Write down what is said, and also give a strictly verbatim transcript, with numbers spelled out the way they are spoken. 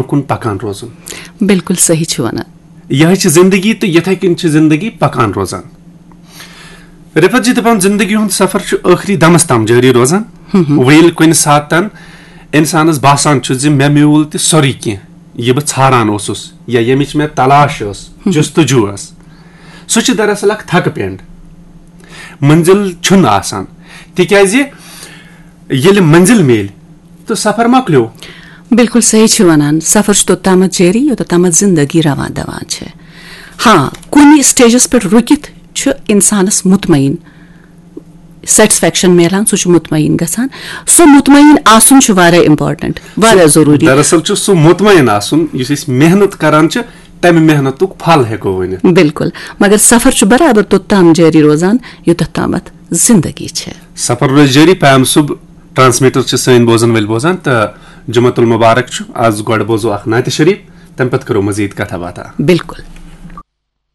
کُن پکان روزُن۔ بالکل صحیح چھِ ونان۔ یہے چھِ زندگی تہٕ یِتھے کٔنۍ چھِ زندگی پکان روزان۔ رفعت جی دپان، زندگی ہُنٛد سفر چھُ ٲخری دمس تام جٲری روزان۔ وۄنۍ ییٚلہِ کُنہِ ساتن انسانس باسان چھُ زِ مےٚ میوٗل تہِ سورُے کینٛہہ، یہِ بہٕ ژھاران اوسُس یا ییٚمِچ مےٚ تلاش ٲس، جستجو ٲس، سُہ چھُ دراصل اکھ تھکہٕ پینڈ۔ منزل چھُنہٕ آسان، تِکیازِ ییٚلہِ منزل میلہِ تہٕ سفر مۄکلیو۔ بالکل صحیح چھِ ونان، سفر چھُ توٚتامَتھ جٲری یوٚتَتھ تامَتھ زندگی روان دوان چھِ۔ ہاں، کُنہِ سٹیجس پٮ۪ٹھ رُکِتھ چھُ انسانس مطمئن سیٹسفیکشن میلان، سُہ چھُ مطمئن گژھان۔ سُہ مطمئن آسُن چھُ واریاہ امپورٹنٹ، واریاہ ضروٗری۔ دراصل چھُ سُہ مطمئن آسُن یُس أسۍ محنت کران چھِ، تمہِ محنتُک پھل ہیٚکو ؤنِتھ۔ بالکل، مگر سفر چھُ برابر توٚتام جٲری روزان یوٚتَتھ تامَتھ زندگی چھِ۔ سفر روزِ جٲری۔ پیام صٲب، ٹرانسمیٹر چھِ سٲنۍ بوزن وٲلۍ بوزان، تہٕ جمعہ المبارک چھُ۔ از گۄڈٕ بوزو اکھ نعتِ شریف، تمہِ پتہٕ کرو مزید کتھا باتھا۔ بالکل۔